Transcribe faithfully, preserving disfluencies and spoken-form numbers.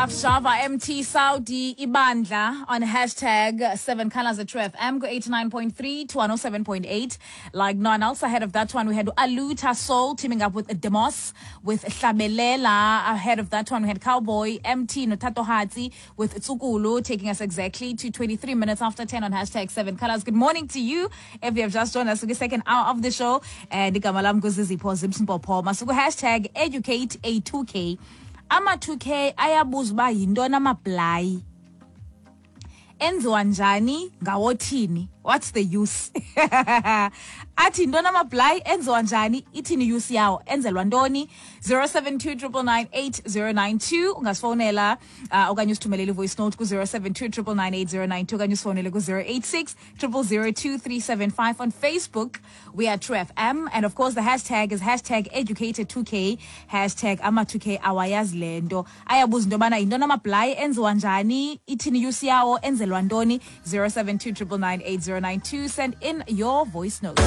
Stuff Sjava M T Saudi Ibandla on hashtag seven Colors at True F M go eighty-nine point three to one oh seven point eight like no one else. Ahead of that one, we had Aluta Soul teaming up with Demos with Hlabelela. Ahead of that one, we had Cowboy M T noThatohatsi with Tsukulu, taking us exactly to twenty-three minutes after ten on hashtag seven Colors. Good morning to you if you have just joined us for the second hour of the show, and igama lam nguZizipho Zimsimpopho. Masuku hashtag educate a two K. Ama two K ayabuza uba yintoni amablayi, enziwa njani, ngawothini, what's the use? Athi yintoni amablayi, enziwa njani, ithini use yawo, enzelwa ntoni? zero seven two nine nine nine eight zero nine two ungasifowunela uh, okanye usithumelele i-voice note ku-zero seven two nine nine nine eight zero nine two okanye usifowunele ku-zero eight six zero zero zero two three seven five. On Facebook we are True F M, and of course the hashtag is hashtag educated two K, hashtag ama two K awayazi le nto. Ayabuza into yobana yintoni amablayi, enziwa njani, ithini use yawo, enzelwa ntoni? zero seven two nine nine eight zero nine two. Send in your voice notes.